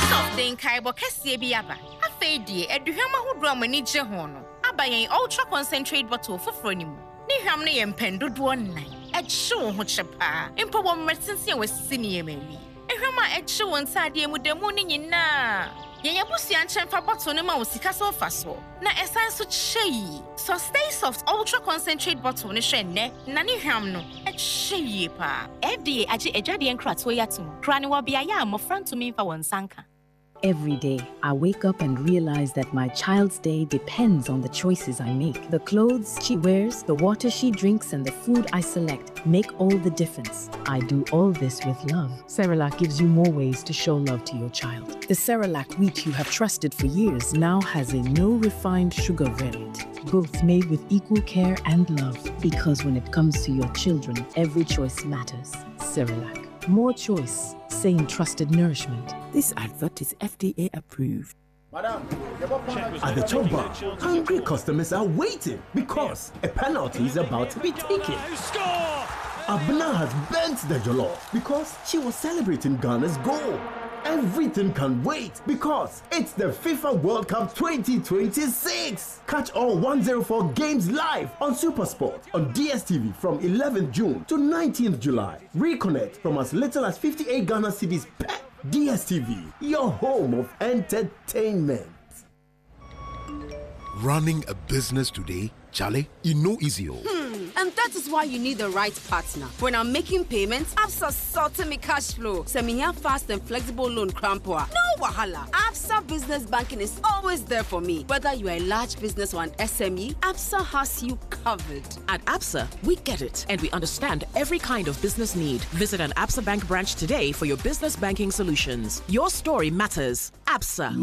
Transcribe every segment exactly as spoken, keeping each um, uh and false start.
Soft de nkaebɔ kɛseɛ bi aba. Afei deɛ, aduhwam ahodoɔ a mo ani gye ho no aba yɛn ultra concentrate bottle foforɔ no mu. Ne hwam no yɛ mpɛn dodoɔ nnan. Ɛkye wo ho kyɛ paa mpo wɔ mmerɛ tenten a wɔasisi nneɛma awie. Ehwam a ɛkye wo ntaadeɛ mu da mu no nyinaa. Yɛn abusua nkyɛn fa bottle no ma wo sika so mfasoɔ na ɛsan so kyɛ yie. So Stay Soft ultra concentrate bottle no hwɛ nnɛ na ne hwam no ɛkyɛ yie paa. F D A agye adwadeɛ nkratoɔ yi ato mu kora ne wɔ beaeɛ a mmɔfra ntumi mfa wɔn nsa nka. Every day, I wake up and realize that my child's day depends on the choices I make. The clothes she wears, the water she drinks, and the food I select make all the difference. I do all this with love. Cerelac gives you more ways to show love to your child. The Cerelac wheat you have trusted for years now has a no refined sugar variant, both made with equal care and love. Because when it comes to your children, every choice matters. Cerelac. More choice, same trusted nourishment. This advert is F D A approved. At the chop bar, hungry customers are waiting because a penalty is about to be taken. Abna has burnt the jollof because she was celebrating Ghana's goal. Everything can wait because it's the FIFA World Cup twenty twenty-six. Catch all one hundred four games live on Supersport on D S T V from eleventh June to nineteenth July. Reconnect from as little as fifty-eight Ghana cedis per. D S T V, your home of entertainment. Running a business today, Charlie, e no easy o. Hmm, and that is why you need the right partner. When I'm making payments, Absa sorting me cash flow. Send me here fast and flexible loan crampo. No wahala. Absa Business Banking is always there for me. Whether you are a large business or an S M E, Absa has you covered. At Absa, we get it and we understand every kind of business need. Visit an Absa Bank branch today for your business banking solutions. Your story matters. Absa.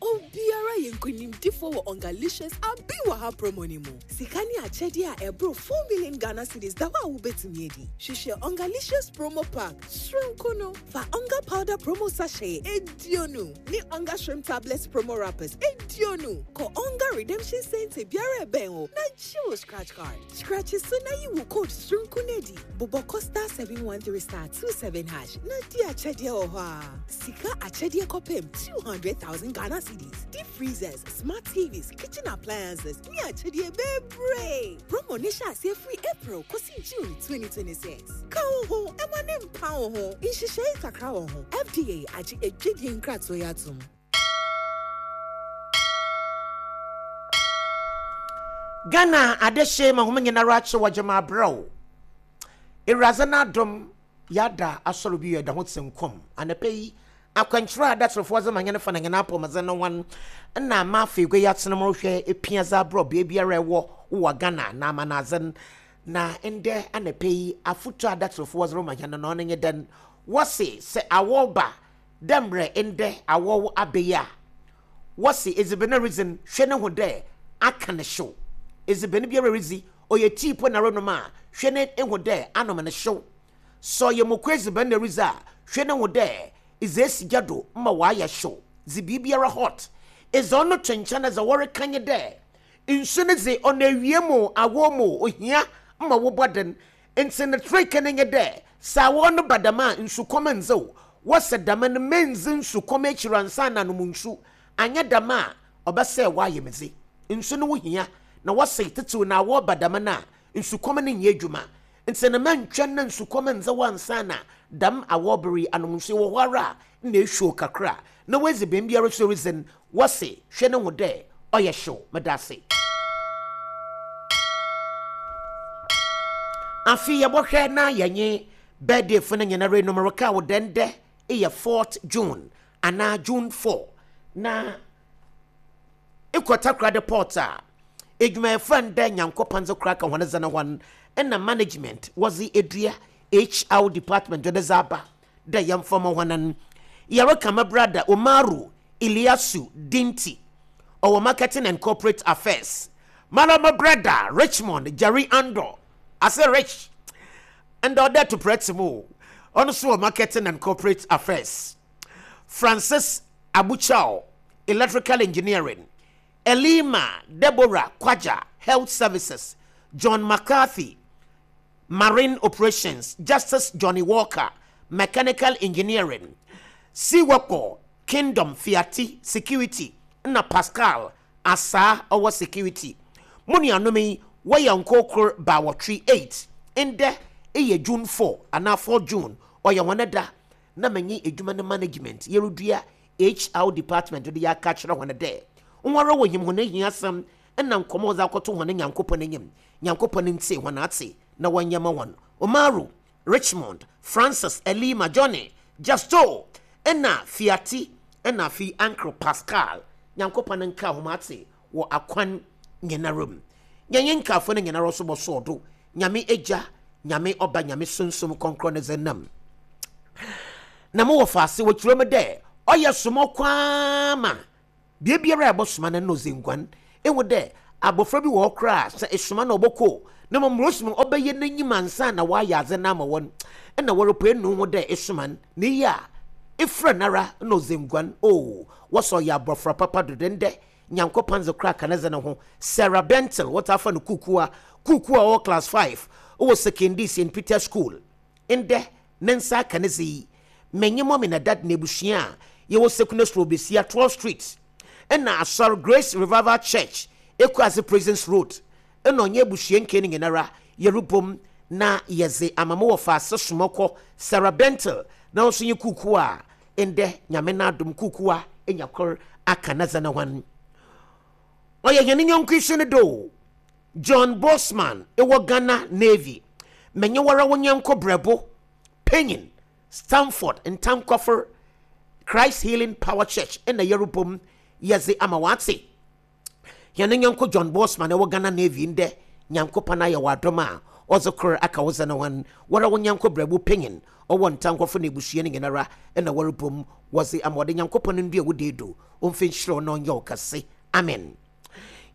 Obiara yɛ nkonimdifoɔ wɔ Ongalicious abi wɔ ha promo ni mu. Sika ne akyɛdeɛ a ɛboro four million Ghana cedis da hɔ a wobɛtumi adi. Hwehwɛ Ongalicious promo pack soronko no fa Onga powder promo sachet eduonu ne Onga shrimp tablets promo wrappers eduonu. Kɔ Onga redemption center biara ɛbɛn wo na gye wo scratch card. Scratch so na yi wo code soronko no adi. Bobɔ kɔ star seven one three star two seven hash na di akyɛdeɛ wɔ hɔ a. Sika akyɛdeɛ kɔpem two hundred thousand Ghana cedis. Deep freezers, smart T Vs, kitchen appliances, ne akyɛdeɛ bebree. Promo ne hyɛ aseɛ firi April kɔsi June twenty twenty-six. Ka wo ho, ɛma ne mpa wo ho. Nhyehyɛe kakra wɔ ho. F D A agye adwadie nkratoɔ yi atom. Ghana adehye ma hom nyinara akye wɔ gyama abrɛw. Ewuradze n'adom, yɛada asɔre bi yɛda ho te nkɔm anapa yi. Akwankyerɛ a adatsefoɔ dze ma hɛn fa na hɛn apɔmudzen no ho na ama afei gua yi atena mu rehwɛ epia dze abrɛ beebiara ɛwɔ wɔ Ghana na amanadze no. Na ndɛ anapa yi, afotu a adatsefoɔ dze rema hɛn no, ɔno nye dɛn? Wɔse sɛ awɔ ba dɛ mmerɛ ndɛ awɔ aba yi a, wɔse edziban a ridzi no, hwɛ ne ho dɛ aka ne hyew. Edziban biara ridzi, ɔyɛ tea po na renom a, hwɛ ne ho dɛ anom ne hyew. Sɛ ɔyɛ moko edziban na ridzi a, hwɛ ne ho dɛ edze esi gya do ma wayɛ hyew. Dze biribiara hot edze ɔno to nkyɛn. Na dza wɔreka nye dɛ nsu no dze, ɔno awie mu awɔ mu ohia ma wobɔ den, nti ne trick no nye dɛ sɛ awɔ no ba dɛm a, nsukɔm ndzew. Wɔsɛ dɛm no, mendzi nsukɔm ekyir ansa na anom nsu. Anyɛ dɛm a, ɔbɛsɛ wayɛ me dze nsu no wo hia. Na wɔsɛ tetew na awɔ ba dɛm no a, nsukɔm no nyɛ adwuma, nti no mɛntwɛn na nsukɔm ndze ansa na dɛm awɔ bere anom nsu. Wɔ hɔ ara a na ehwɛ kakra na wɔadzi bɛn biara so ridzi no, wɔse hwɛ ne ho dɛ ɔyɛ hyew. Meda ase. Afei yɛbɔhwɛ na yɛnye birthday fo no nyinara enum reka wo dɛn dɛ ɛyɛ fourth June anaa June four. Na ekɔ Takoradi Port a, edwumayɛfo a ndɛ Nyankopɔn dze kora ka hɔn dze no hɔn ɛna management wɔdze edua H R department wɔde dze aba dɛ yɛmfa ma hɔn no. Yɛreka me brother Umaru Iliasu Dinti, ɔwɔ marketing and corporate affairs. Mara my brother Richmond Jerry Andor ase Rich ndɛ ɔdɛ to prɛte mu, ɔno nso wɔ marketing and corporate affairs. Francis Abuchao, electrical engineering. Elima Deborah Kwaja, health services. John McCarthy, marine operations. Justice Johnny Walker, mechanical engineering. Siwako Kingdom Fiati Security na Pascal Asaa ɔwɔ security. Mo nuanom yi wɔyɛ nkokor baawɔtwe eight. Ndɛ ɛyɛ June four anaa four June, ɔyɛ wɔn da na menye edwuma no management yɛredua H R department de yɛaka kyerɛ wɔn dɛ nwara wɔ him hɔn ahia asɛm ɛna nkɔmɔ ɔdze akɔto hɔn Nyankopɔn anim. Nyankopɔn ntie hɔn ate na wɔnyɛ ma wɔn. Omaru, Richmond, Francis, Elima, Johnny, Justo ɛna Fiati ɛna afi Uncle Pascal, Nyankopɔn nka hom ate wɔ akwan nyinara mu. Yɛnyɛ nkaafo no nyinara nso bɔsɔɔ do. Nyame Agya, Nyame Ɔba, Nyame Sunsum Kɔnkrɔn ne dze nam na mowɔ faase wɔkyerɛ mu dɛ ɔyɛ somɔ kwaa ma biribiara a ɛbɔsoma no no ɔdze nguan ehu dɛ abɔfra bi wɔ hɔ koraa sɛ esoma na ɔbɔkɔ na mmom rosoma ɔbɛyɛ n'enyim ansa na wayɛ adze no ama wɔn ɛna wɔrepɛ enu ho dɛ esoma no ne yie a efrɛ nara na ɔdze nguan o wɔsɔ ɔyɛ abɔfra papa dodo. Ndɛ Nyankopɔn dze kora ka ne dze ne ho. Sarah Bentel, wɔtaa fa no Kukua Kukua, ɔwɔ class five ɔwɔ Sekondi Saint Peter School, ndɛ ne nsa aka ne dze yi. Menye mɔmi na dad na ebusua a yɛwɔ Sekuna Suro Besia twelve Street ɛna asɔr Grace Revival Church, Ekuase Prisons Road, ɛna ɔnyɛ abusua nke no nyinara yɛrebom na yɛdze ama mo wɔ faase somɔkɔ Sarah Bentel na nso nye Kuku a ndɛ Nyame n'adom Kuku a enya kor aka ne dze ne ho. Ɔyɛ hɛn nyɔnko yi so no do John Bosman ɛwɔ Ghana Navy. Menye wara wo nyɛnko brɛbo panyin Stanford Ntankɔfor, Christ Healing Power Church, ɛna yɛrebom yɛdze ama wate hɛn nyɔnko John Bosman ɛwɔ Ghana Navy. Ndɛ Nyankopɔn ayɛ wɔ adom a ɔdze kor aka wo dze ne ho. Wara wo nyɛnko brɛbo panyin ɔwɔ Ntankɔfo no ebusua no nyinara ɛna wɔrebom wɔdze ama ɔde. Nyankopɔn ndua wo deedo ɔmfa nhyira wo na ɔnyɛ wo kɛse. Amen.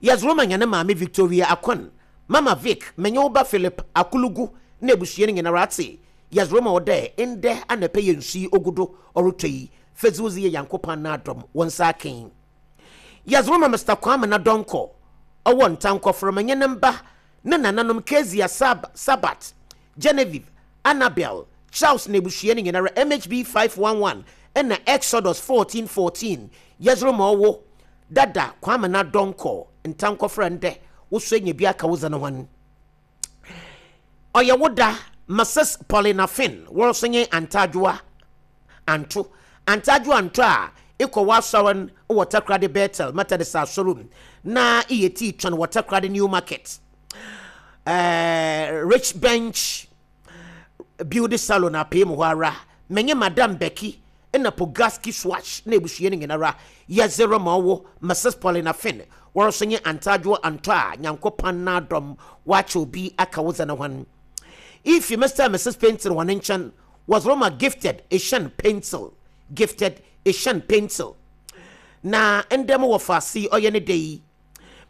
Yɛdze roma hɛn maame Victoria Akon, Mama Vic, menye wo ba Philip Akulugu na ebusua no nyinara ate. Yɛdze roma wo dɛ ndɛ anapa yɛ nsu yi ogu do ɔretɔ yi fedzi wo dze yɛ Nyankopɔn n'adɔm wo nsa aken. Yɛdze roma Mister Kwame na Dɔnkɔ ɔwɔ Ntankɔforo, menye ne mba ne nananom Kezia Sab Sabat, Genevieve, Annabel, Charles na ebusua no nyinara. M H B five one one ɛna Exodus fourteen fourteen. Yɛdze roma ɔwo dada Kwame na Dɔnkɔ Ntankɔforo. Ndɛ wosɔ nya bi aka wo dze no ho. Ɔyɛ wo da Missus Paulina Finn, wɔn nso nye Antadwoa Anto, Antadwoa Anto a ekɔ w'asɔre no wɔ Takoradi Bethel Methodist asɔre mu na iyɛ tii twɛn wɔ Takoradi New Market, ɛɛ Rich Bench Beauty Salon apee mu hɔ ara. Menye Madam Becky ɛna Pogaski Swatch na ebusua no nyinara yɛdze rema ɔwo Missus Paulina Finn, wɔn nso nye Antadwoa Anto a Nyankopɔn n'adɔm wakyɛ obi aka wo dze ne ho. Ifi Mister and Missus Pencil wɔn nkyɛn wɔdze rema Gifted Asian Pencil, Gifted Asian Pencil, na ndɛm wɔ faase ɔyɛ ne da yi.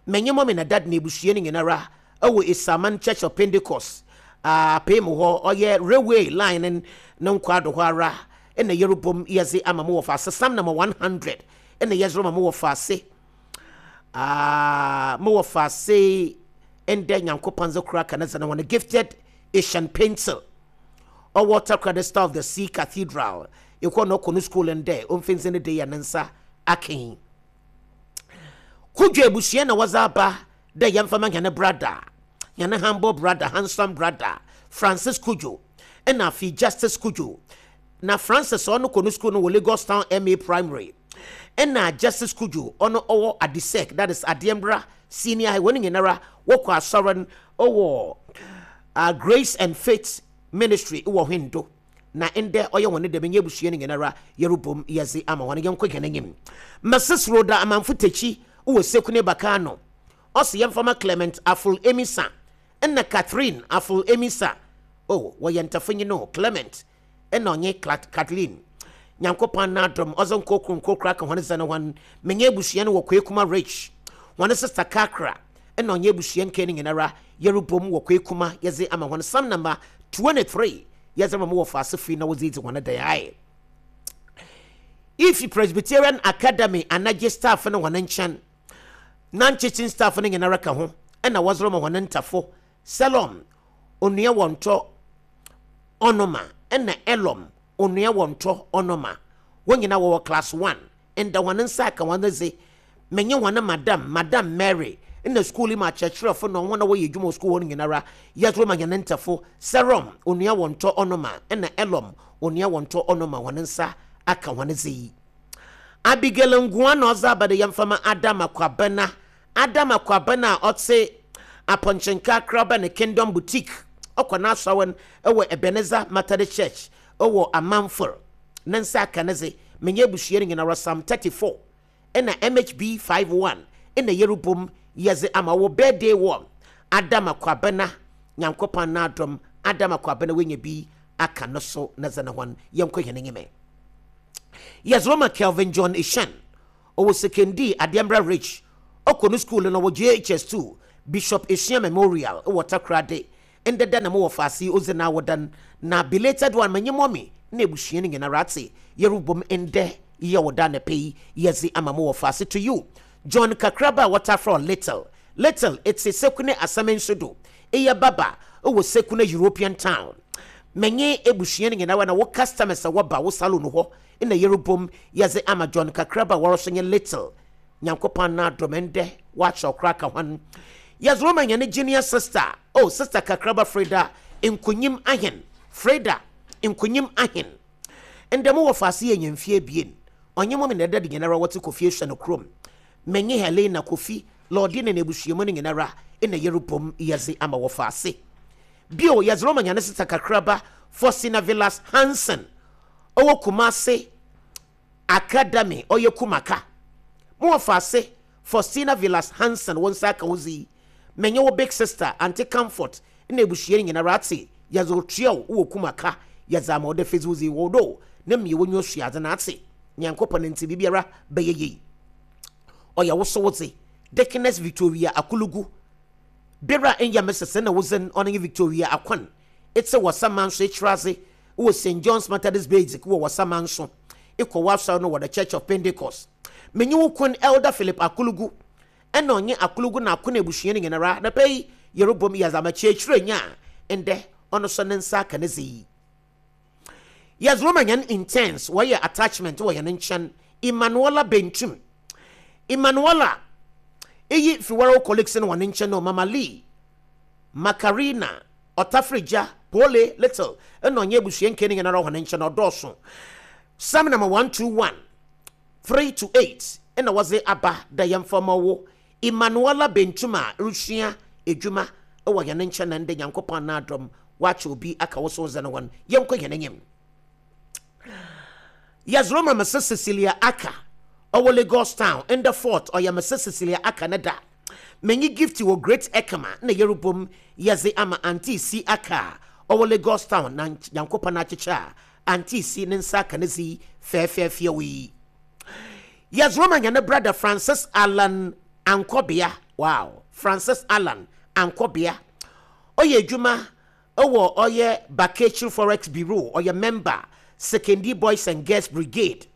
Menye mɔmi na dad na ebusua no nyinara ɛwɔ Esaman Church of Pentecost apee mu hɔ, ɔyɛ railway line ne ne nkwaado hɔ ara ɛna yɛrebom yɛdze ama mo wɔ faase. Psalm number one hundred ɛna yɛdze rema mo wɔ faase mo wɔ faase. Ndɛ Nyankopɔn dze kora ka ne dze ne ho no. Gifted Asian Pencil ɔwɔ Takoradi Star of the Sea Cathedral ekɔ na ɔkɔ no school. Ndɛ ɔmfɛnsi ne de yɛ ne nsa aken. Kudwo abusua na wɔdze aba dɛ yɛmfa ma hɛn brother, hɛn humble brother, handsome brother Francis Kudwo ɛna afei Justice Kudwo. Na Francis ɔno kɔ no school no wɔ Lagos Town Ma Primary, ɛna Justice Kudwo ɔno ɔwɔ Adisec, that is Adeɛmbra Senior High. Wɔn nyinara wɔkɔ asɔre no ɔwɔ uh, Grace and Faith Ministry wɔ Hwendo, na ndɛ ɔyɛ wɔn dɛm nyɛ abusua no nyinara yɛrebom yɛdze ama wɔn. Yɛnkɔ hɛn anim. Missus Rhoda Amanfo Tekyi wɔ Sekune Bakano ɔsi yɛmfama Clement Aful Emisa ɛna Catherine Aful Emisa. Oh, wɔyɛ ntafonyi no, Clement ɛna ɔnye Kathleen. Nyankopɔn n'adom ɔdze nkokoro nkokoro aka wɔn dze no wɔn. Menye abusua no wɔ Kwekuma Rich, wɔn sister Kakra ɛna ɔnye abusua nkɛ no nyinara yɛrebom wɔ Kwekuma yɛdze ama wɔn. Psalm number twenty-three yɛdze ma mo wɔ faase firi na wɔdze dzi wɔn dan ayɛ. Ifi Presbyterian Academy anagye staff no wɔn nkyɛn, non-teaching staff no nyinara ka ho ɛna wɔdze ma wɔn ntafo Selom Onua Wɔntɔ Ɔnoma ɛna Elom Onua Wɔntɔ Ɔnoma. Wɔn nyinaa wɔwɔ class one. Ndɛ hɔn nsa aka hɔn dze. Menye hɔn madam, Madam Mary, na school yi mu akyerɛkyerɛfo na hɔn a wɔyɛ edwuma wɔ school hɔ no nyinara yɛdze rema hɛn ntɛfo Serom Onua Wɔntɔ Ɔnoma na Elom Onua Wɔntɔ Ɔnoma hɔn nsa aka hɔn dze yi. Abigail Ngoa na ɔdze aba dɛ yɛmfa ma Adam Akwabena. Adam Akwabena a ɔtse Apɔnkyenka Kraba ne Kingdom Boutique. Ɔkɔ n'asɔre wɔ Ebenezer Methodist Church wɔ Amanfo. Ne nsa aka ne dze menye abusua no nyinara Psalm thirty-four ɛna M H B five one ɛna Yerubom yɛdze ama wɔ birthday wɔ Adam Akwabena Nyankopɔn n'adom. Adam Akwabena wenya bi aka no so na dze ne hɔn yɛnkɔ hɛn enyim. Yɛdze rema Kelvin John Ishan ɔwɔ Sekondi Adeɛmbra Ridge. Ɔkɔ no school no wɔ J H S two Bishop Eshia Memorial wɔ Takoradi. Ndeda na mowɔ faase odzi na awodan na belated one menye mɔmi na ebusua no nyinara ate Yerubom ndɛ yɛ woda na pɛ yi yɛdze ama mowɔ faase to you John Kakraba a wɔtafrɛ Little Little etse Sekune asɛm nso do eyɛ baba wɔ Sekune European Town. Menye ebusua no nyinara na wo customers a wɔba wo salon hɔ na Yerubom yɛdze ama John Kakraba a wɔrɔso nye Little Nyankopɔn na adom ndɛ wɔakyerɛw koraa ka hɔn. Yɛdze rema hɛn junior sister, oh sister Kakraba Freda Nkonyim Ahen. Freda Nkonyim Ahen. Ndɛ mo wɔ faase yɛ nyamfie ebien. Ɔnye mo na ɛda de nyinara wɔte Kofi ehwɛ no kurom. Menye Helena Kofi Lordina na ebusuamu no nyinara na Yerubom yɛdze ama wɔ faase. Bio yɛdze rema hɛn sister Kakraba Faustina Villas Hansen ɔwɔ Kumase Academy ɔyɛ Kumaka. Mo wɔ faase Faustina Villas Hansen wɔn nsa aka wo dzi. Menye wo big sister Auntie Comfort na ebusua nyinara ate yɛdze otua wo wɔ Kumaka yɛdze ama ɔda fedzi wo dzi wɔ do na mmea wonyo suadze na ate Nyankopɔn nti bibiara bɛyɛ yie. Ɔyɛ wo so wo dze Deaconess Victoria Akulugu bera enya mesese na wo dze ɔno nye Victoria Akwan etse wɔ Samanso ekyiraze wɔ Saint John's Methodist Basic wɔ wɔ Samanso ekɔ wɔ no wɔ the Church of Pentecost. Menye wo kun Elder Philip Akulugu ɛna ɔnye Akulugu na akona ebusua no nyinara na pɛ yi Yerobom yɛdze ama kyerɛkyerɛ nya ndɛ ɔno so ne nsa aka ne dze yi. Yɛdze rema hɛn intense wɔyɛ attachment wɔ hɛn nkyɛn Emmanuela Bentum. Emmanuela eyi fi wɔn colleagues no wɔn nkyɛn no Mama Lee Macarena Ɔtafrigya Pole Little ɛna ɔnye ebusua nkɛ no nyinara wɔn nkyɛn ɔdɔɔso. Psalm number one two one three to eight ɛna wɔdze aba da yɛn fama wo Emmanuela Bentum a resua edwuma ɛwɔ hɛn nkyɛn na ndɛ Nyankopɔn n'adom wakyɛ obi aka wo so dze no wɔn yɛnkɔ hɛn enyim. Yɛdze rema Missus Cecilia Aka ɔwɔ Lagos Town in the fort ɔyɛ Missus Cecilia Aka ne da. Menye gift wɔ Great Ekama na Yerubom yɛdze ama Auntie C Aka ɔwɔ Lagos Town na Nyankopɔn akyekyɛ a Auntie C ne nsa aka ne dzi fɛɛfɛɛfɛw yi. Yɛdze rema hɛn brother Francis Allan Ankɔbea. Wow, Francis Allan Ankɔbea ɔyɛ edwuma ɔwɔ ɔyɛ Bakechiri Forex Bureau, ɔyɛ member Sekondi Boys and Girls Brigade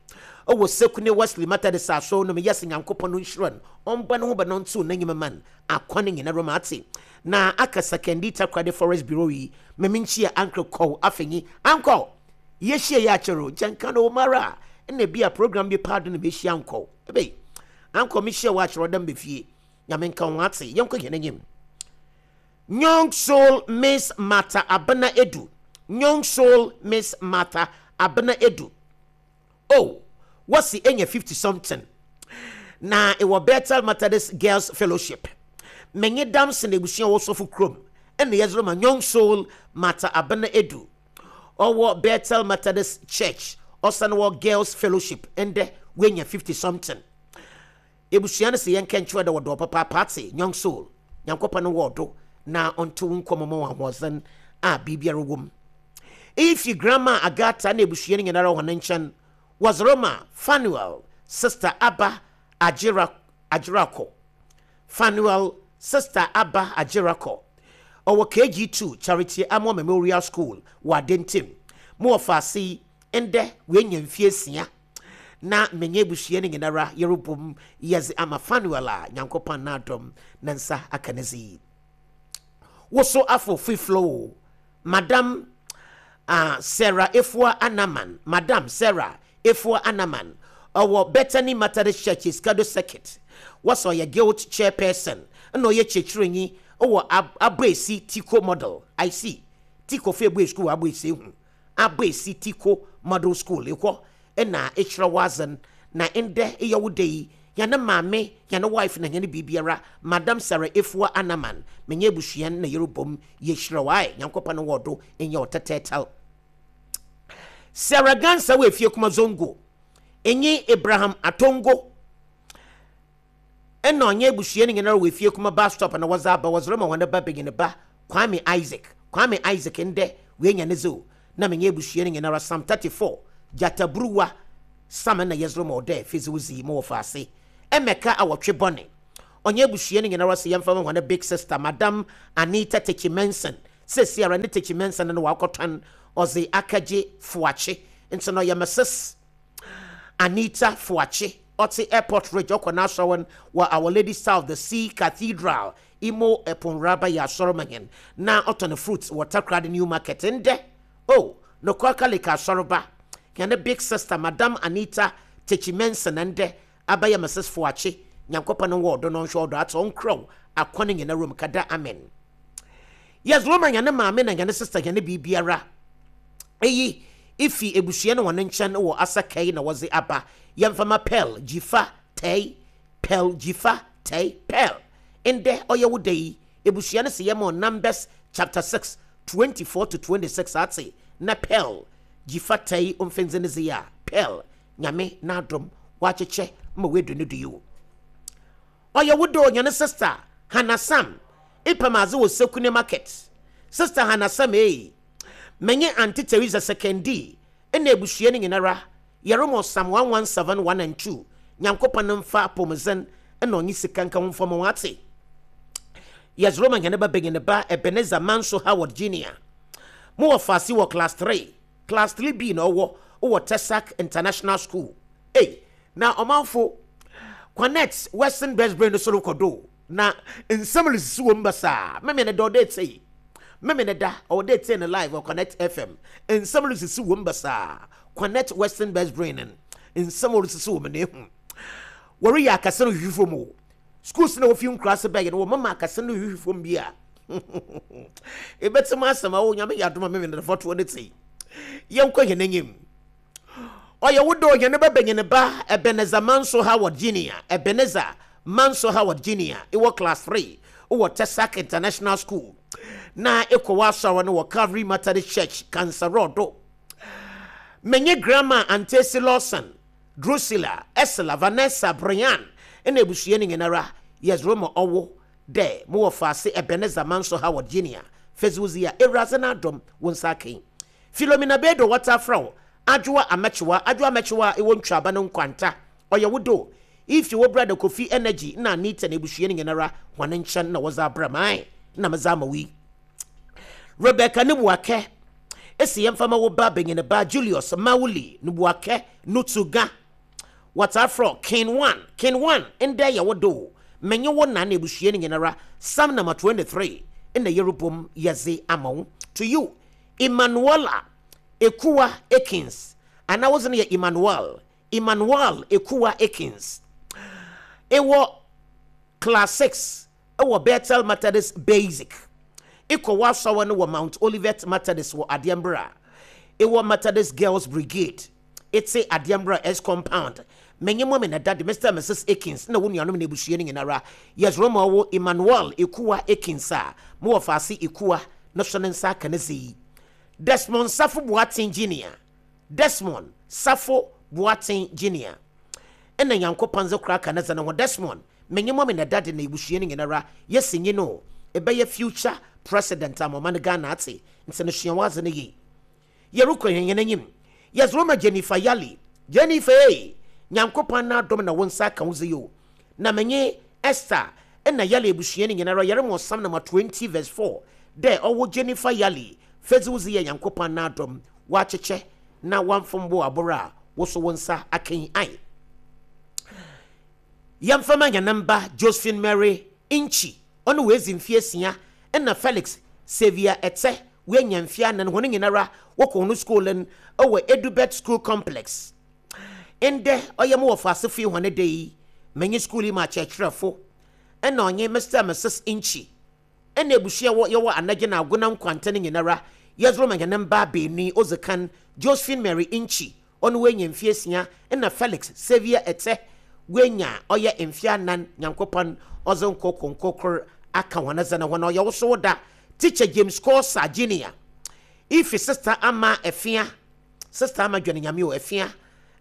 ɔwɔ Sekune Wesley Methodist asɔr no mu. Yɛsɛ Nyankopɔn no nhyira no ɔmbɔ ne ho bɛ no nto n'enyim man akwan nyinara mu ate na aka Sekondi Takoradi Forex Bureau yi meme nkyia ankre kɔw afenyi ankɔ yɛhyia yɛ akyɛro nkyɛnka no mara ɛna bi a program bi paado no mehyia ankɔ ebe ankɔ mehyia wɔ akyerɛ ɔdam bɛfie Nyame nka ho ate yɛnkɔ hɛn enyim. Young Soul Miss Martha Abena Edu. Young Soul Miss Martha Abena Edu. Oh, what's the enya fifty something? Na it was Bethel Methodist Girls Fellowship. Menye dams na ebusua wo sofo krom. Ene yezro ma Young Soul Martha Abena Edu. Owo Bethel Methodist Church. Osan wo Girls Fellowship. Ende wenya fifty something. Ebusua no se yen kenchwe de wo papa party Young Soul. Nyankopɔn no wo do na onto nkomo mo ahoɔzen a biribiara wom. If you grandma Agatha na ebusua no nyinara ho nkyɛn was Roma Fanuel sister Abba Ajira Ajirako. Fanuel sister Abba Ajirako. Owo K G two Charity Amo Memorial School wa Dentim. Mo faasi ende we nya mfie sia na menye ebusua no nyinara yerobom yeze ama Fanuel a Nyankopɔn na adom na nsa aka ne zi. Woso afo free flow Madam uh, Sarah Efua Anaman, Madam Sarah Efua Anaman ɔwɔ Bethany Methodist Church Essikado Circuit. Wɔsɛ ɔyɛ guild chairperson ɛna ɔyɛ kyerɛkyerɛnyi wɔ Aboesi Tiko Model. I see Tiko fo ebue school Aboesi hu Aboesi Tiko Model School ekɔ ɛna ekyerɛ wazen. Na ndɛ ɛyɛ wo da yi, yɛne maame, yɛne wife na yɛne biribiara, Madam Sarah Efua Anaman, menye abusua na yɛrebom yɛhyerɛ wo ae. Nyankopɔn no wɔ do ɛnyɛ ɔtɛtɛɛtɛl. Sarah Gansa wɔ efie kuma Zongo enye Abraham Atongo ɛna ɔnyɛ abusua no nyinara wɔ efie kuma bus stop na wɔdze aba, wɔdze rema wɔn ba benyin ba Kwame Isaac. Kwame Isaac, ndɛ wenya ne zo na menye abusua no nyinara Psalm thirty-four gyataburuwa sam na yɛdze rema ɔdɛ fezewzi mo wɔ faase ɛmɛka awɔtwe bɔne. Ɔnyɛ abusua no nyinara sɛ yɛmfa ma wɔn big sister, Madam Anita Techi Menson. Sɛsiara ne Techi Menson no wakɔtɔn ɔdze akagye Foakye, nti no ɔyɛ Missus Anita Foakye, ɔte Airport Ridge, ɔkɔ n'asɔre wɔ Our Lady Star of the Sea Cathedral Imo Ɛponraba yɛ asɔre ma hɛn, na ɔtɔn fruits wɔ Takoradi New Market. Ndɛ o nokɔ kalika asɔreba, hɛn big sister Madam Anita Techi Menson ndɛ abɛyɛ Missus Foakye. Nyankopɔn wɔ ɔdɔ no nhwɛ ɔdɔ atɔ nkorɔw akɔ ne nyina rom kada. Amen. Yes, Roma hɛn maame na hɛn sister, hɛn biribiara eyi ifi ebusua no wɔn nkyɛn wɔ Asakai na wɔdze aba. Yɛmfama Pearl Gyifa Tɛi. Pearl Gyifa Tɛi, Pearl, ndɛ ɔyɛ wo da yi, ebusua no sɛ yɛma Numbers chapter six twenty-four to twenty-six ate na Pearl Gyifa Tɛi ɔmfɛndze ne dze a Pearl Nyame n'adom wakyekyɛ ma wedu ne do yi o. Ɔyɛ wo do, nyane sister Hannah Sam ipam adze wɔ Sekune Market. Sister Hannah Sam ee, menye Auntie Teresa Sekendi ɛna ebusua no nyinara yɛremɔ Psalm one one seven one and two. Nyankopɔn mfa apɔmuden ɛna ɔnye sika nka ho mfam wɔn ate. Yɛsoro nyane ba benyin ba Ebenezer Manso Howard Junior mo wɔ faase wɔ class three, class three B na ɔwɔ wɔ Tesac International School. Ei, na ɔmanfo, Connect Western Best Brain no soro kɔdo na nsɛm resisi wɔ mu basaa. Mɛmɛ ne da ɔde ete mɛmɛ ne da ɔde ete ne live wɔ Connect F M. Nsɛm resisi wɔ mu basaa. Connect Western Best Brain no, nsɛm resisi wɔ mu na ehu wɔreyɛ akasa no hwehwɛ fam o. Schools na wofi nkura ase bɛyɛ no, wɔ mama akasa no hwehwɛ fam bi a ebɛtɛm asɛm a Onyame yɛ adoma mɛmɛ ne fɔtoɔ ne te. Yɛnkɔ yɛn anim. Ɔyɛ wo dɔ, yɛn bɛbɛnyɛ ne ba Ebenezer Manso Howard Junior. Ebenezer Manso Howard Junior ɛwɔ class three wɔ Tesac International School na ɛkɔ wɔ asɔre no wɔ Calvary Methodist Church Kansarɔdo. Menye Grandma Antesi Lawson, Drusilla, Esla, Vanessa, Brian ɛna abusua no nyinara yɛsoro ma ɔwo dɛ mowɔ faase Ebenezer Manso Howard Junior fɛsiwzi a Ewuradze no adɔm wo nsa akan. Philomena Bedo wɔta frɛ wo Adwoa Amɛkyewa. Adwoa Amɛkyewa a ɛwɔ Ntwaba no Nkwanta, ɔyɛ wo do ifi wo brother Kofi Energy na Anita na ebusua no nyinara hɔn nkyɛn na wɔdze abra mae na medze ama wo yi. Rebecca ne Buakɛ esi yɛmfa ma wo ba benyin ba Julius Mawuli ne Buakɛ Nutuga, wɔta frɛ King One. King One, ndɛ yɛ wo do, menye wo na na ebusua no nyinara Psalm number twenty-three ɛna yɛrebom yɛdze ama wo. To you, Emmanuela Ekua Akins, anaa wodze no yɛ Emmanuel, Emmanuel Ekua Akins, ɛwɔ class six ɛwɔ Bethel Methodist Basic, ekɔ w'asɔre no wɔ Mount Olivet Methodist wɔ Adeɛmbra, ɛwɔ Methodist Girls Brigade, ete Adeɛmbra S Compound. Menye mɔmi na daddy Mister and Missus Akins na wo nuanom na ebusua no nyinara yɛsoro ma ɔwo Emmanuel Ekua Akins a mowɔ faase Ekua no so ne nsa aka ne dze yi. Desmond Safo Boateng Junior, Desmond Safo Boateng Junior ɛna Nyankopɔn dze kora aka ne dze no ho. Desmond, menye mɔmi na daddy na ebusua no nyinara yɛsi nyi no ɛbɛyɛ future president a mɔma no Ghana ate, nti no sua wadze no yie. Yɛrekɔ yɛn yɛn anim. Yɛsoro ma Jennifer Yali. Jennifer ee, Nyankopɔn n'adom na wo nsa aka wo dze yi o, na menye Esther ɛna Yali abusua no nyinara yɛrema Psalm number twenty verse four dɛ ɔwɔ Jennifer Yali fɛdzi wo dze yɛ Nyankopɔn n'adom wakyekyɛ na wamfom bo aboro a woso wo nsa aka yi ai. Yɛmfama yɛn mba Josephine Mary Nchi, ɔno wɔadzi mfeɛ asia, ɛna Felix Xavier Ɛtɛ, wɔanya mfeɛ anan. Wɔn nyinara wɔkɔ wɔn school no ɛwɔ Edubet School Complex. Ndɛ ɔyɛ mo wɔfa ase fie hɔn da yi, menye school yi mu akyerɛkyerɛfo ɛna ɔnye Mister and Missus Nchi ɛna ebusua wɔ yɛwɔ anagye na agona nkwanta no nyinara. Yɛdze ma hɛn mba beenu yi. Odzi kan, Josephine Mary Nchi, ɔno woenya mfe esia, ɛna Felix Xavier Ɛtɛ woenya ɔyɛ mfe anan. Nyankopɔn ɔdze nkokonko kor aka hɔn dze no ho. Na ɔyɛ wo so wo da, Teacher James Kosa Junior, ifi Sister Ama Efia, Sister Ama dwane Nyame o Efia,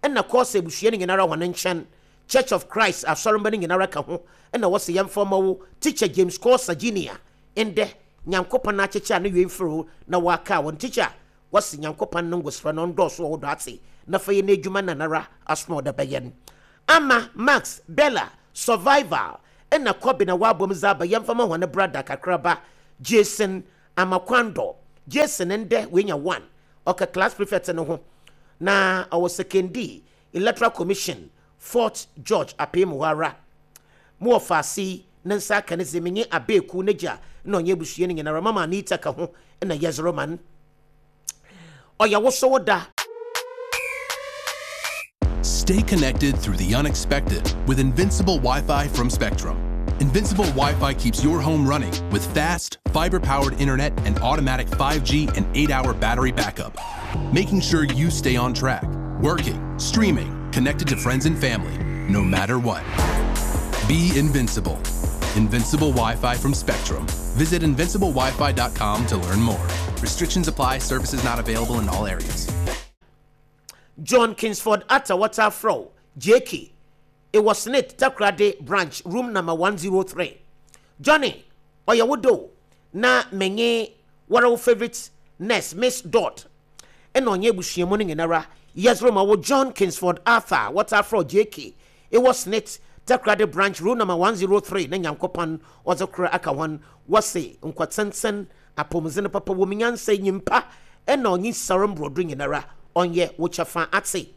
ɛna Kosa ebusua no nyinara hɔn nkyɛn, Church of Christ asɔremba no nyinara ka ho, ɛna wɔsɛ yɛmfa ma wo Teacher James Kosa Junior. Ndɛ Nyankopɔn akyekyɛ a ne wie mfiri na waka wɔn teacher, wɔsi Nyankopɔn no ngosra no ndɔɔso wɔ wo do ate na fa yɛ n'adwuma nanara asom a ɔda bɛyɛ no. Ama Max, Bella, Survival ɛna Kɔbi na wabom dze aba, yɛmfa ma hɔn brother kakraba Jason Amakwando. Jason ndɛ wenya one, ɔka class prefect no ho na ɔwɔ Sekondi Electoral Commission, Fort George apem hɔ ara. Mo wɔ faase ne nsa aka ne dze, menye abeeku ne gya na ɔnyɛ abusua no nyinara, Mama Anita ka ho na yɛzoro man. Ɔyɛ wo so wo da. Stay connected through the unexpected with Invincible Wi Fi from Spectrum. Invincible Wi Fi keeps your home running with fast, fiber powered internet and automatic five G and eight hour battery backup, making sure you stay on track, working, streaming, connected to friends and family, no matter what. Be invincible. Invincible Wi Fi from Spectrum. Visit invincible wi fi dot com to learn more. Restrictions apply, services not available in all areas. John Kingsford Atta Waterfro J K, it was SSNIT Takoradi branch, room number one oh three. Johnny, ɔyɛ wo do na menye wɔre wo favorite nurse Miss Dot ɛna ɔnyɛ abusuamu no nyinara. Yɛsoro ma wo John Kingsford Arthur Waterfro J K, it was SSNIT Takoradi branch, room number one oh three, na Nyankopɔn ɔdze kora aka hɔn. Wɔse nkɔtenten apɔmudzen papa wɔ mu, nyansa nyimpa ɛna ɔnye sare mborɔdo nyinara ɔnyɛ wo kyɛfa ate.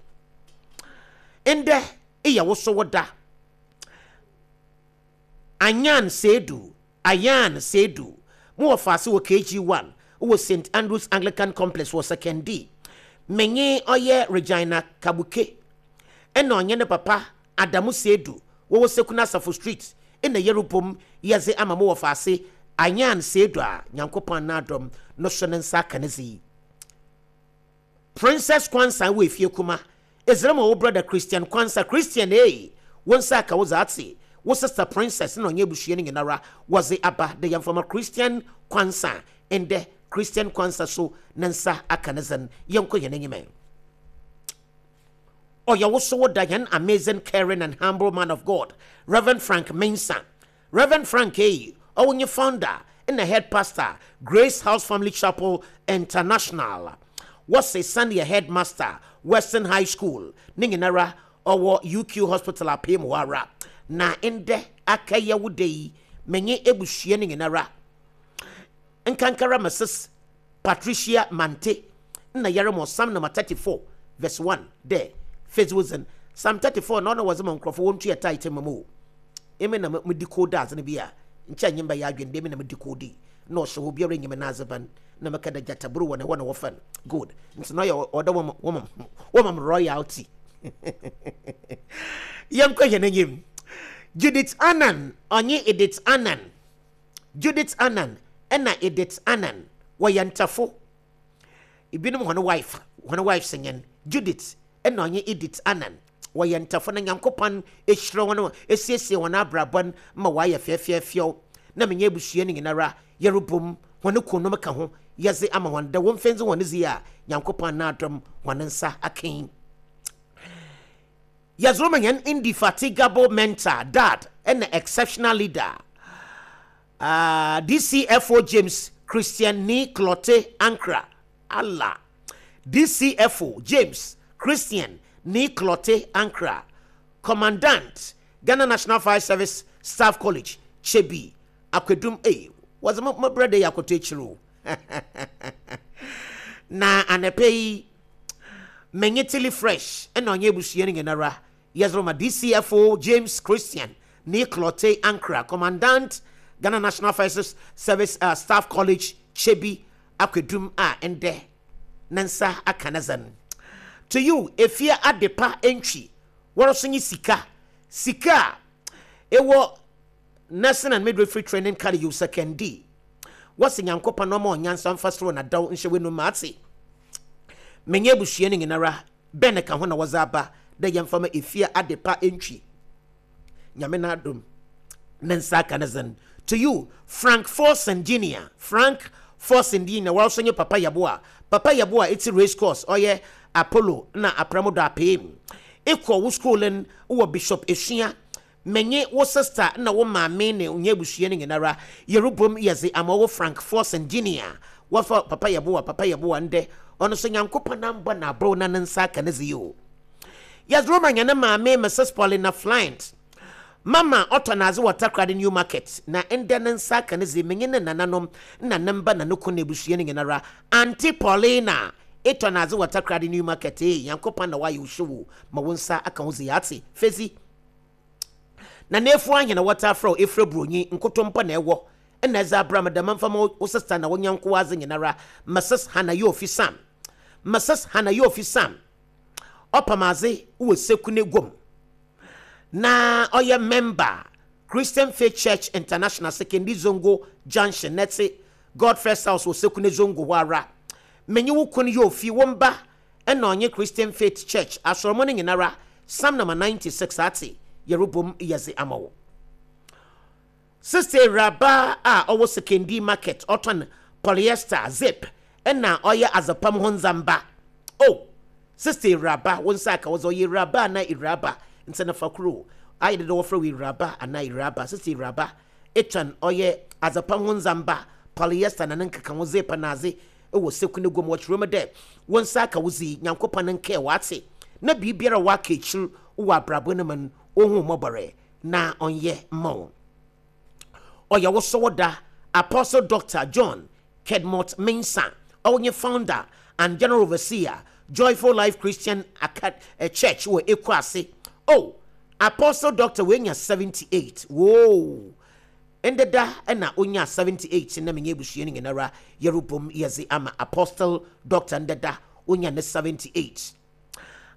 Ndɛ eyɛ wo so wo da, Anyan Seidu, Ayan Seidu, mo wɔ faase wɔ K G one wɔ Saint Andrews Anglican Complex wɔ Sekondi. Menye ɔyɛ Regina Kabuke ɛna ɔnyɛ ne papa Adamu Seidu wɔwɔ Sekuna Asafo Street ɛna yɛrebom yɛdze ama mo wɔ faase Anyan Seidu a Nyankopɔn n'adɔm no so ne nsa aka ne dze. Princess Kwansa wɔ efie kuma ezra ma wo brother Christian Kwansa. Christian ee, wo nsa aka wo dze ate. Wo sister Princess na ɔnyɛ abusua no nyinara wɔdze aba de yɛmfama Christian Kwansa. Ndɛ Christian Kwansa so ne nsa aka ne dzen. Yɛnkɔ yɛn anyim. Ɔyɛ wo so wo da, yɛn amazing, caring and humble man of God, Reverend Frank Mensah. Reverend Frank eyi ɔwɔ nye founder ɛna head pastor, Grace House Family Chapel International. Wɔse sane headmaster, Western High School ne nyinara ɔwɔ U Q Hospital apem hɔ ara. Na ndɛ akɛyɛ wo da yi, menye ebusua no nyinara, nkankara Missus Patricia Mante, na yɛremɔ Psalm number thirty-four verse one dɛ fedziwodzen. Psalm thirty-four na ɔna wɔdze ma nkurɔfo wɔntua tithe ma mu o. Emi na medi code adze no bi a nkyɛn nye mbɛyɛ adwene dɛ emi na medi code na ɔhyɛ hɔ biara nyim n'adze ban na mɛka dɛ gyataburu wɔ ne hɔ na wɔfa no good nti na ɔyɛ ɔdɛ wɔma wɔma wɔma royalty. Yɛnkɔ yɛn anim. Judith Annan ɔnye Edith Annan, Judith Annan ɛna Edith Annan wɔyɛ ntafo. Ebinom wɔn wife, wɔn wife sɛnyɛn Judith ɛna ɔnye Edith Annan wɔyɛ ntafo, na Nyankopɔn ehyira wɔn, esiesie wɔn abrabɔ ma wɔayɛ fɛɛfɛɛfɛw. Na menyɛ abusua no nyinara yɛrebom wɔn kunom ka ho yɛdze ama wɔn dɛ wɔn mfɛndze wɔn dzi a Nyankopɔn n'adom wɔn nsa akan. Yɛdze ma yɛn indefatigable mentor, dad ɛna exceptional leader, uh, D C F O James Christian Ni Clote Ankra Allah, D C F O James Christian Ni Clote Ankra, Commandant, Ghana National Fire Service Staff College, Chebi Akwadum. Eh, wɔdze mo brother yi akoto akyiri o. Na anɛpɛ yi menye Tilly Fresh ɛna ɔnyɛ abusua no nyinara yɛdze ma D C F O James Christian Ni Clote Ankra, Commandant, Ghana National Fire Service uh, Staff College, Chebi Akwadum, a ɛndɛ ne nsa aka ne zan. To you, Efia Adepa Entry, wɔrɔso nye sika sika a ɛwɔ Nursing and Midwifery Training College Sekondi. Wɔsi Nyankopɔn na ɔma ɔnyansa mfa soro na daw nhyɛ w'anum ate. Menye abusua no nyinara bɛn ka ho na wɔdze aba dɛ yɛmfa ma Efia Adepa Entry. Nyame n'adom ne nsa aka ne zen. To you, Frank Forson Junior, Frank Forson Junior, wɔrɔso nye Papa Yaboa. Papa Yaboa, it's race course, ɔyɛ Apollo na Apramo do apem. Ekɔ wo school no wɔ Bishop Esua. Menye wo sister na wo maame ne nye abusua no nyinara yɛrebom yɛdze ama wo Frank Forson Junior. Wɔfa Papa Yaboa, Papa Yaboa ndɛ ɔno so Nyankopɔn nambɔ na aborɔ na ne nsa aka ne dze yi o. Yɛdze roma nyane maame Missus Paulina Flint. Mama ɔtɔ n'adze wɔ Takoradi New Market na ndɛ ne nsa aka ne dze. Menye ne nananom na ne mba na ne kun na abusua no nyinara. Auntie Paulina etɔ n'adze wɔ Takoradi New Market ee, Nyankopɔn na wayɛ wo hyew ma wo nsa aka wo dze ate fezi. Na n'efu ahene wɔta afrɛ wo efrɛ buronyi nkotompo na ɛwɔ ɛna ɛdze abra me dɛm mfa ma wo sister na wo nyanko adze nyinara Missus Hannah Yofi Sam. Missus Hannah Yofi Sam ɔpam adze wɔ Sekune Gwom na ɔyɛ member Christian Faith Church International, Sekondi Zongo Junction, nɛte God First House wɔ Sekune Zongo hɔ ara. Menye wo kun Yofi, wo mba ɛna ɔnye Christian Faith Church asɔrɔmɔ no nyinara. Psalm number ninety-six ate yɛrebom yɛdze ama wo. Sister Raba a ɔwɔ Sekondi Market, ɔtɔn polyester zip ɛna ɔyɛ azapam ho ndzamba. Oh, Sister Raba, wo nsa aka wo dze, ɔyɛ Raba ana Iraba nti na fa kuro ayɛ dede wɔfrɛ wo Iraba ana Iraba. Sister Iraba etɔn ɔyɛ azapam ho ndzamba, polyester na ne nkeka ho, zip na adze ɛwɔ Sekune Gwom. Wɔkyerɛ mu dɛ wo nsa aka wo dzi, Nyankopɔn nkɛɛ wate na biribiara waka akyir wɔ abrabɔ no mu no, ohun mmɔbɔrɛ na ɔnyɛ mma wo. Ɔyɛ wo so da Apostle Doctor John Kedmot Mensah, ɔnyɛ founder and general overseer Joyful Life Christian Acad eh, Church wɔ Ekuase. Oh, Apostle Doctor wenya seventy-eight. Whoa, ndeda ɛna onya seventy-eight na menye abusua no nyinara yɛrebom yɛdze ama Apostle Doctor ndeda onya ne seventy-eight.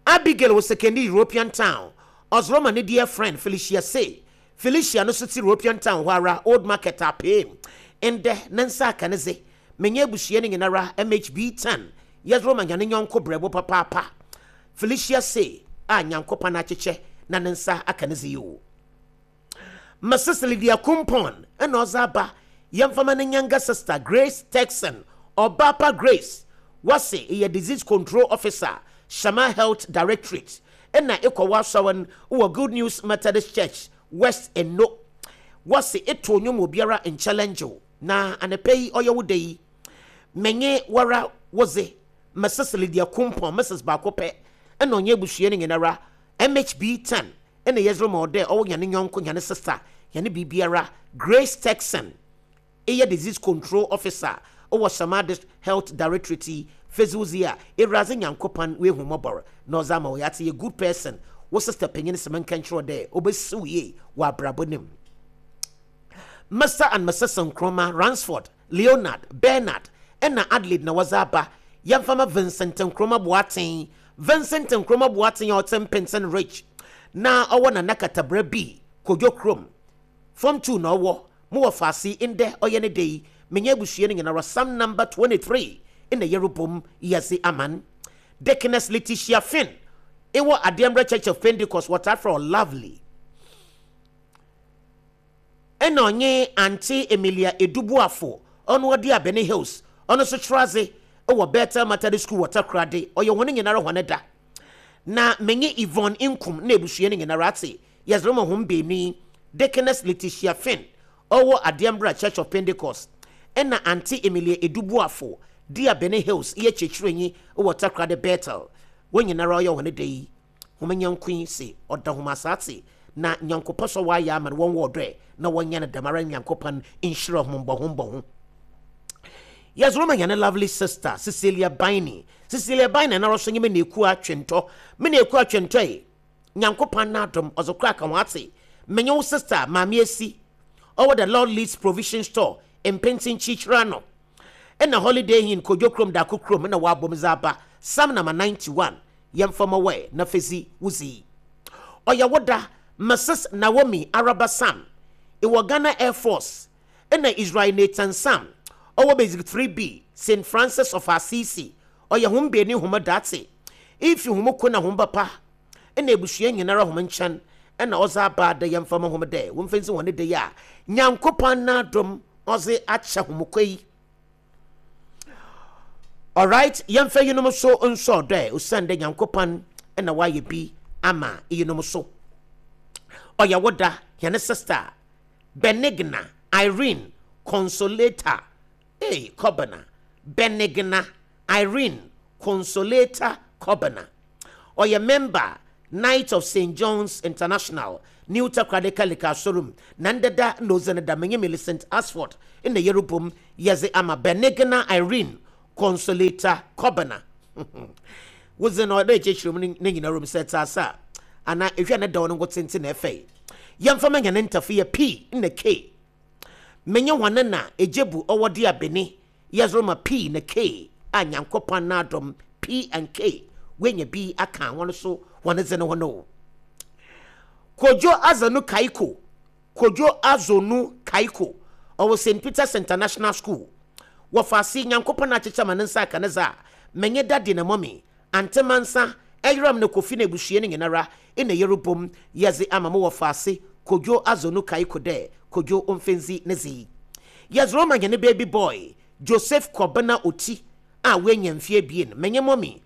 Abigail wɔ Sekondi European Town, ɔzoroma ne dear friend Felicia say Felicia no so te European Town hɔ ara, Old Market apem. Ndɛ ne nsa aka ne ze. Menye abusua no nyinara M H B ten yɛzoroma nyane nyɔnko brɛbo papaapa Felicia say a Nyankopɔn akyekyɛ na ne nsa aka ne ze yi o. Missus Lydia Kumpon ɛna ɔdze aba yɛmfama ne younger sister Grace Texan. Ɔbaapa Grace, wɔse ɛyɛ disease control officer, Shama Health Directorate, ɛna ɛkɔ w'asɔre wɔ Good News Methodist Church, West Eno. Wɔse ɛto nnwom obiara nchallenge wo na anɔpa yi ɔyɛ wo da yi. Menye wara wodze Missus Lydia Kumpon, Missus baako pɛ ɛna ɔnyɛ abusua no nyinara M H B ten ɛna yɛsrɛ ma ɔdɛ ɔwɔ nyane nyɔnko, nyane sister, nyane biribiara Grace Texan, ɛyɛ disease control officer ɔwɔ Shama Health Directorate yi. Fezuzi a Ewuradze Nyankopɔn wehu mmɔbɔr na ɔdze ama wo yɛate yɛ good person. Wo sister panyin sɛ menka nkyerɛ dɛ obɛsiw yie wɔ abrabɔ no mu. Mister and Missus Nkrumah Ransford, Leonard, Bernard ɛna Adelaide na wɔdze aba yɛmfama Vincent Nkrumah Boateng. Vincent Nkrumah Boateng a ɔte Mpinsen Ridge na ɔwɔ Nana Katabra bi Kodwo Kurom Form two na ɔwɔ mo wɔ faase. Ndɛ ɔyɛ ne de yi, menye abusua no nyinara Psalm number twenty-three ɛna yɛrebom yɛdze aman. Deaconess Letitia Finn ɛwɔ Adeɛmbrɛ Church of Pentecost, wɔtaa frɛ Lovely, ɛna ɔnye Auntie Emilia Edubuafo, ɔno ɔde Abene Hills, ɔno nso kyerɛ ase ɛwɔ Bethel Methodist School wɔ Takoradi. Ɔyɛ wɔn nyinara wɔn da na menye Yvonne Nkum na ebusua no nyinara ate yɛsrɛ mo hom beenu yi. Deaconess Letitia Finn ɔwɔ Adeɛmbra Church of Pentecost ɛna Auntie Emilia Edubuafo di Abene Hills yɛ kyerɛkyerɛnyi wɔ Takoradi Bethel, wɔn nyinara ɔyɛ wɔn da yi. Hom nyanko yi se ɔda hom asase na Nyankopɔn sɛ wɔayɛ ama no wɔn wɔ ɔdɔ na wɔnyɛ no dɛmara. Nyankopɔn nhyira hom mbɔho mbɔho. Yɛsoro ma yɛne lovely sister Cecilia Baini. Cecilia Baini na ɔso nye me na eku atwentɔ, me na eku atwentɔ yi. Nyankopɔn n'adom ɔdze kora ka ho ate. Menye wo sister Maame Esi ɔwɔ the Lord Leads Provision Store, Mpenten Kyikyira no, ɛna Holiday Inn, Kodwo Kurom, Dako Kurom, ɛna wɔabom dze aba Psalm number ninety-one. Yɛmfa ma wɛ na fezi wuzi. Ɔyɛ woda Missus Naomi Araba Sam ɛwɔ Ghana Air Force ɛna Israel Nathan Sam ɔwɔ Basic three B Saint Francis of Assisi ɔyɛ hom beeni hom date ifi hom ko na hom papa ɛna ebusua nyinara hom nkyɛn ɛna ɔdze aba da yɛmfa ma hom dɛ wɔmfa nsi hɔn de yɛ a Nyankopɔn n'adom ɔdze akyɛ hom kɔ yi. Alright, yɛmfa yinom so nsɔ dɛ osiane dɛ Nyankopɔn ɛna wayɛ bi ama yinom so. Ɔyɛ woda hɛn sister Benigna Irene Consolata eh Kobena Benigna Irene Consolata Kobena ɔyɛ member Knight of Saint John's International New Takoradi Kalika Sorum na ndeda na oze ne da menye Millicent Asford na yerubom yɛdze ama Benigna Irene Consolata Kobena. Wodze no ɔdɛ kyerɛkyerɛ mu ne nyinaa rom sɛ tsasa ana ehwɛ ne dɔw no ngo tenten na ɛfɛ yɛmfa ma nyane ntafo yɛ P na K menye hɔn na egyebu ɔwɔ de abene yɛzoro ma P na K a Nyankopɔn n'adom P and K wenya bi aka wɔn so wɔn dze no ho no. Kojo Azanu Kaiko Kojo Azonu Kaiko ɔwɔ Saint Peter's International School wɔfaase Nyankopɔn akyekyɛ ma ne nsa aka ne za menye dadi na mɔmi antemansa ɛyeram ne kofi na ebusua ne nyinara ina yerubom yɛdze ama mo wɔfaase Kojo Azonu Kaiko dɛ Kojo omfenzi ne zi yɛzoro ma nyane baby boy Joseph Kobena Oti a wenya mfie bien menye mɔmi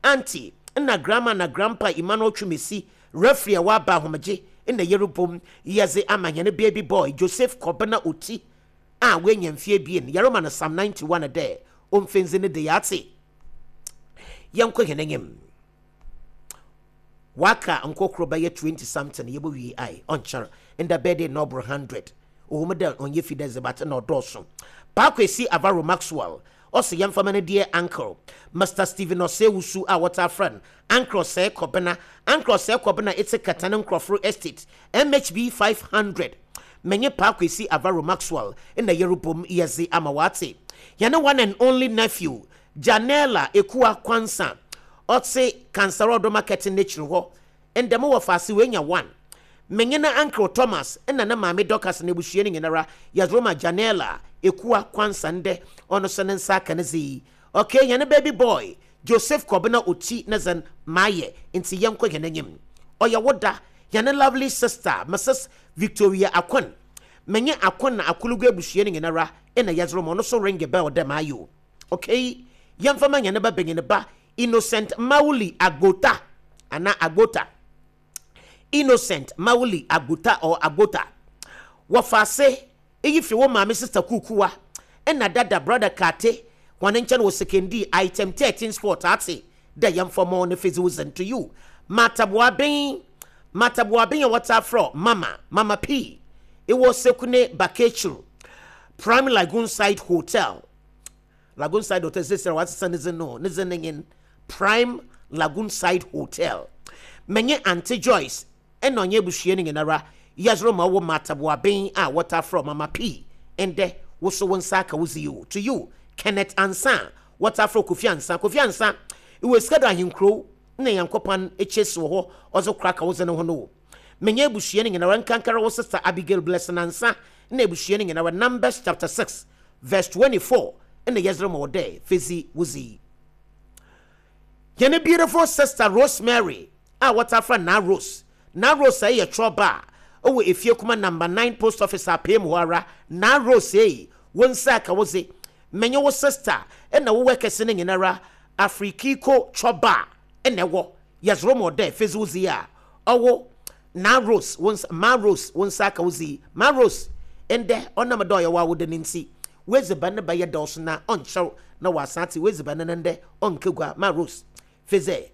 auntie na grandma na grandpa Emmanuel Twumesi referee a waba ahomegye na yerubom yɛdze ama nyane baby boy Joseph Kobena Oti a wenya mfie bien yeroma no Psalm ninety-one dɛ omfenzi ne de yate yɛnkɔ hɛn enyim waka nkokoro bɛyɛ twenty something yɛbɔ wie ai ɔnkyɛr nda birthday na ɔboro hundred ohun dɛ ɔnyɛ fi dɛ zebat na ɔdɔɔso Paako esi Avaro Maxwell ɔsɛ yɛmfa ma no deɛ uncle Mister Stephen Osewusu a wɔta friend uncle Sɛ Kɔbena uncle Sɛ Kɔbena etse Katane Nkrɔforo Estate M H B five hundred menye Paako esi Avaro Maxwell na yerubom yɛdze ama wate yɛne one and only nephew Janela Ekua Kwansa ɔtse Kansarodo marketing n'ekyir hɔ ndɛm wɔ faase wenya one menye na uncle Thomas na na maame Dorcas na ebusua ne nyinara yɛdze ma Janela Ekua Kwansa ndɛ ɔno so ne nsa aka ne dze. Okay, yɛne baby boy Joseph Kobena Oti ne dzen maayɛ nti yɛnkɔ hɛn enyim ɔyɛ woda yɛne lovely sister Missus Victoria Akon menye Akon na Akulugu ebusua ne nyinara na yɛdze ma ɔno so ring bell dɛ maayɛ. Okay, yɛmfa ma yɛne ba benyin ba Innocent Mauli Agbota ana Agbota Innocent Mauli Agbota or Agbota wɔfaase eyi fi wo maame sister Kukuwa ɛna dada brother Kate wɔn nkyɛn wɔ sekendi item thirteen sport ate dɛ yɛmfa mo ne physical to you Mataboaben Mataboaben yɛ wɔta afro mama Mama P ɛwɔ Sekune Bakechu Prime Lagoon Side Hotel Lagoon Side Hotel sɛ wɔasesa ne dze no ne dze ne nyin Prime Lagoon Side Hotel menye Auntie Joyce ɛna ɔnyɛ ebusua ne nyinara yɛzoro ma wɔ Mataboaben a wɔta afro Mama P ɛndɛ woso wo nsa aka wo zi to you Kenneth Ansa wɔta afro Kofi Ansa Kofi Ansa iwe sika do ahenkro na Yankopɔn ekyesi wɔ hɔ ɔzo kora ka wo dze ne ho no menye ebusua ne nyinara nkankara wo sister Abigail Blessing Ansa na ebusua ne nyinara Numbers chapter six verse twenty-four na yɛzoro ma wɔ dɛ fezi wo zi yɛne beautiful sister Rosemary a wɔta afra na Rose na Rose ɛyɛ trɔba ɔwɔ efie kuma number nine post office apem hɔ ara na Rose ei wo nsa aka wo dze menye wo sister ɛna wo wɛkɛse ne nyinara Afrikiko trɔba ɛna ɛwɔ yɛzoro ma ɔdɛ fezi wo zi a ɔwɔ na Rose wo nsa ma Rose wo nsa aka wo zi ma Rose ɛndɛ ɔnam dɛ ɔyɛ wa wo de ne nti wezi ba ne ba yɛ dɔɔso na ɔnkyɛw na wasate wezi ba ne ne ndɛ ɔnkegua ma Rose feze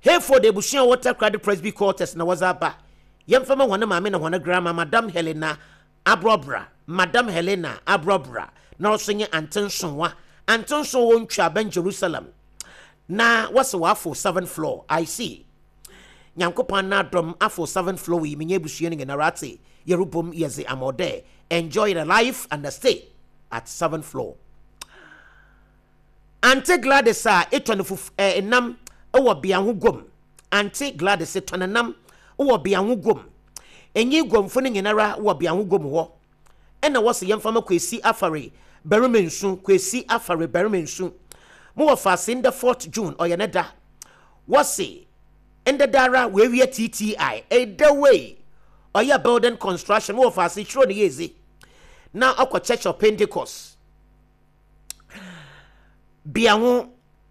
Hayford ebusua water credit Presby quarters na wɔdze aba yɛmfa ma wɔn maame na wɔn grandma Madam Helena Abrobra Madam Helena Abrobra na ɔso nye Antensonwa Antenson wɔ ntwa ben Jerusalem na wɔsɛ wɔafo seventh floor I see Nyankopɔn na adom afo seventh floor yi menye ebusua no nyinara ate yerubom yɛdze amɔdɛ enjoy the life and the stay at seventh floor. Auntie Gladys a etɔ ne fufu eh, nam Ɛwɔ Beaho Guam. Auntie Gladys tɔnenam wɔ Beaho Guam. Enyi guamfo no nyinara wɔ Beaho Guam hɔ. Ɛna wɔsɛ yɛmfa ma Kwesi Afare barima nsu, Kwesi Afare barima nsu. Mo wɔ faase ndɛ fourth June ɔyɛ ne da. Wɔse ndɛ dara wɔawie T T I. Ɛda wei ɔyɛ building construction. Mo wɔ faase kyerɛ ne yɛzi na ɔkɔ Church of Pentecost Beaho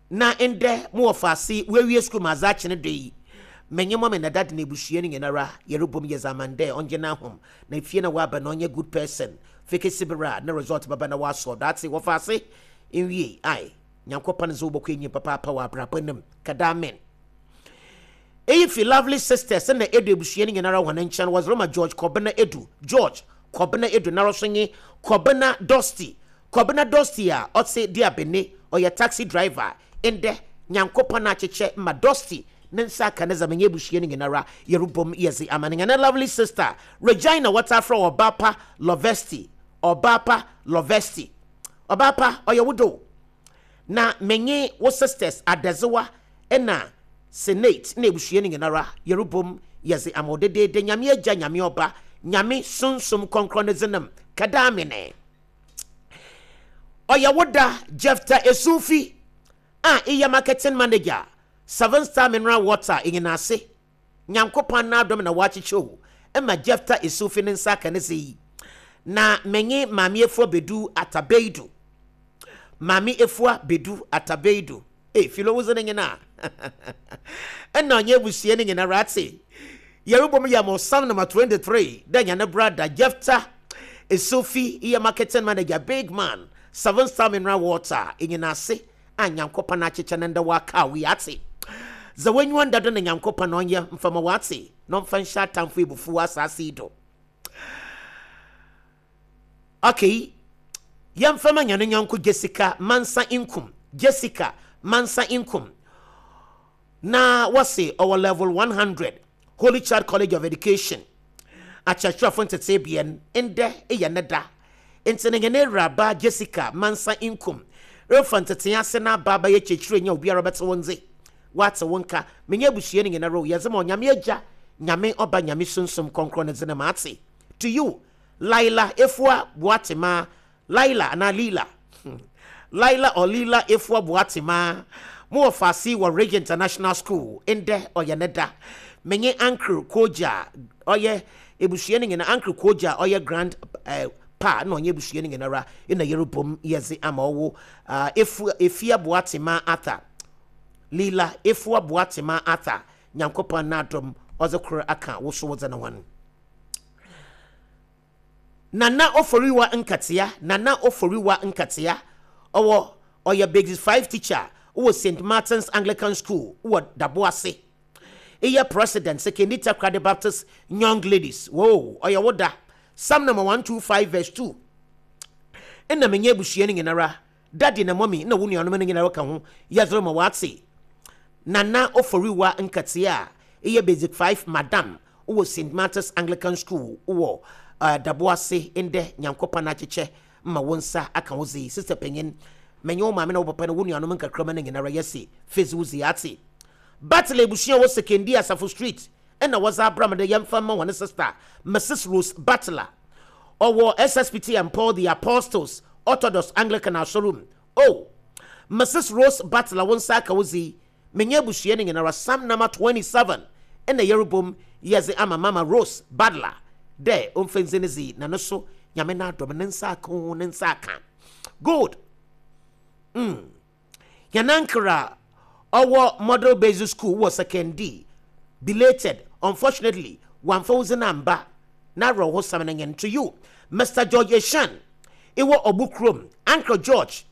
na ndɛ mo wɔ faase wɔawie school ma adze akye ne do yi. Menye mɔ me na dade na ebusua no nyinara yɛrebom yɛ zaman dɛ ɔngye n'ahom na efie na waba na ɔnyɛ good person fekesi bere a ne result bɛba na wasɔ daate wɔ faase nwie. Ai, Nyankopɔn nso wobɛkɔ enyim papaapa wɔ abrabɔ nim kada. Amen. Eyi fi Lovely Sisters na Edu ebusua no nyinara wɔn nkyɛn. Wɔdze ma George Kɔbena Edu, George Kɔbena Edu nara so nye Kɔbena Dusty, Kɔbena Dusty a ɔte di abene, ɔyɛ taxi driver. Ndɛ Nyankopɔn akyekyɛ ma Dusty ne nsa aka ne zama nye ebusua no nyinara yɛrebom yɛdze ama ne nyane lovely sister Regina. Wɔta afrɛ Ɔbaapa Lovesti, Ɔbaapa Lovesti. Ɔbaapa, ɔyɛ wo do na menye wo sisters Adazewa ɛna Senate na ebusua no nyinara yɛrebom yɛdze ama wo dedeede. Nyame Agya, Nyame Ɔba, Nyame Sunsum Kɔnkrɔn ne dzenam kada. Amene. Ɔyɛ wo da, Jefta Esufi a iyɛ marketing manager, Seven Star Mineral Water ɛnyina ase. Nyankopɔn n'adom na wakyekyɛ o ɛma Jefta Esufi ne nsa aka ne se yi na menye Maame Efua Bedu Atabeidu, Maame Efua Bedu Atabeidu e filo wo ne nyina ɛna ɔnyɛ abusua no nyina rate yɛrebɔ mu yɛ mo Psalm number twenty-three dɛ nyane brother Jefta Esufi yɛ marketing manager, big man, Seven Star Mineral Water ɛnyina ase a Nyankopɔn akyekyɛ ne ndɛ waka wi ate dza wanyiwa ndado na Nyankopɔn na ɔnyɛ mfama wate na ɔmfa nhyɛ atamfo ebufu wɔ asase yi do. Okay, yɛmfama nyane nyɔnko Jessica Mansa Nkum, Jessica Mansa Nkum na wɔse ɔwɔ level one hundred, Holy Child College of Education, akyerɛkyerɛfo ntete bien. Ndɛ yɛ ne da nti ne nyane awuraba Jessica Mansa Nkum refa ntete ase na aba abɛyɛ kyerɛkyerɛ nya obiara bɛte wɔn dze wate wɔn nka. Menye abusua no nyinara o yɛdze ma Onyame Agya, Nyame Ɔba, Nyame Sunsum Kɔnkrɔn ne dze ne ma ate. To you, Laila Efua Boatema, Laila anaa Lila, Laila or Lila Efua Boatema, mo wɔ faase wɔ Ridge International School. Ndɛ ɔyɛ ne da. Menye Uncle Koja ɔyɛ ebusua no nyinaa, Uncle Koja ɔyɛ grand eh, pa na ɔnyɛ ebusua no nyinara ɛna yɛrebom yɛdze ama ɔwo uh, Efua Efia Boatema Arthur, Lila Efua Boatema Arthur. Nyankopɔn n'adom ɔdze koro aka wo so wodze ne ho. Nana Oforiwa Nkatea, Nana Oforiwa Nkatea, ɔwɔ ɔyɛ basic five teacher wɔ Saint Martin's Anglican School wɔ Daboase. Ɛyɛ president Sekondi Takoradi Baptist Young Ladies. Wo ɔyɛ wo da. Psalm number one two five verse two ɛna menyɛ abusua no nyinara, daddy na mommy na wo nuanom no nyinara ka ho yɛdze ma wate. Nana Oforiwa Nkatea a ɛyɛ basic five madam wɔ Saint Martin's Anglican School wɔ uh, Daboase, ndɛ Nyankopɔn akyekyɛ ma wo nsa aka wo dze. Sister panyin, menye wo maame na wo papa na wo nuanom nkakrama no nyinara yɛse fezi wo dze ate. Battle abusua wɔ Sekondi Asafo Street ɛna wɔdze abra me de yɛmfa ma wɔne sister Missus Rose Butler, ɔwɔ S S P T and Paul the Apostles Orthodox Anglican asɔrum. Oh, Missus Rose Butler, wo nsa aka wo dze. Menye abusua no nyinara, Psalm number twenty-seven ɛna yɛrebom yɛdze ama Mama Rose Butler dɛ ɔmfa ndzi ne dzi na no so Nyame no adɔm ne nsa aka ho ne nsa aka. Good. mm. Yɛnankra ɔwɔ Model Basic School wɔ Sekondi, belated, unfortunately wamfa wo dzi no amba na awerɛhosɛm no nyɛ. To you, Mister George Eshan ɛwɔ Ɔbo kurom, Uncle George,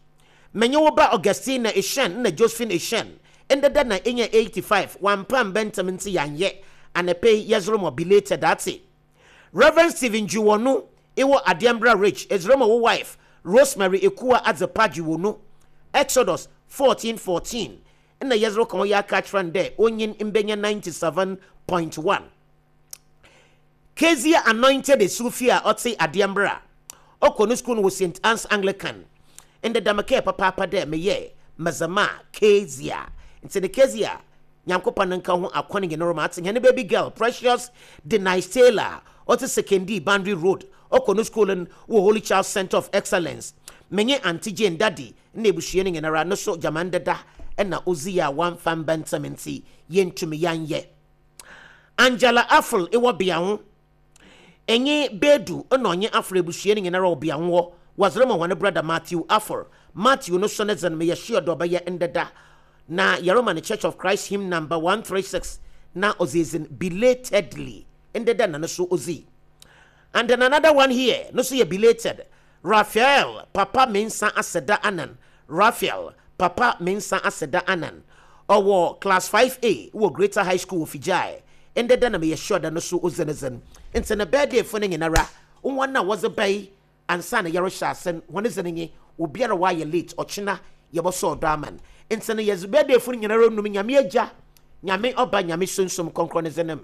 menye wo ba Augustina Eshan na Josephine Eshan ndeda na ɛnya eighty-five wampa mbɛntɛm nti yɛanyɛ anɛpɛ yi yɛzoro mɔ belated ate. Reverend Stephen Juwonu ɛwɔ Adiambra Ridge, ɛzoro ma wo wife Rosemary Ekua Adzepa Juwonu. Exodus fourteen fourteen ɛna yɛzoro ka ho yɛ aka kyerɛ no dɛ onyin mbɛnya ninety-seven point one. Kezia Anointed Esufi a ɔte Adiambra, ɔkɔ no school no wɔ Saint Anne's Anglican. Ndɛ dam kɛɛ papaapa dɛ meyɛ mazama Kezia nti ne Kezia Nyankopɔn nka ho akɔne nyinara ma ate. Hɛn baby girl Precious Denise Taylor, ɔte Sekondi Boundary Road, ɔkɔ no school no wɔ Holy Child Center of Excellence. Menye Auntie Jane, daddy na ebusua no nyinara no so gyaman deda ɛna ozi a wamfa mba ntɛm nti yɛntumi yɛanyɛ. Angela Afol ɛwɔ beaho, ɛnye Bedu ɛna ɔnye Afol ebusua no nyinara wɔ beaho hɔ, wɔdze ma wɔn brother Matthew Afol. Matthew no so ne dze no meyɛ sure dɛ ɔbɛyɛ ndeda na yɛrema no Church of Christ hymn number one three six na ɔdze edzin belatedly ndeda na no so ozi. And then another one here no so yɛ belated, Raphael Papa Mensa Aseda Anan. Raphael Papa Mensa Aseda Anan, ɔwɔ class five A wɔ Greater High School wɔ Figyae. Ndeda na meyɛ sure da no so odzi ne dzen. Nti ne birthday fo no nyinara, wɔn a wɔdze bɛyi ansa na yɛrehyɛ ase, wɔn dze no nye obiara wayɛ late, ɔkyena yɛbɛsɔ ɔdɔ ama no. Nti no yɛdze birthday fo no nyinara num Nyame Agya, Nyame Ɔba, Nyame Sunsum Kɔnkrɔn ne dze nem.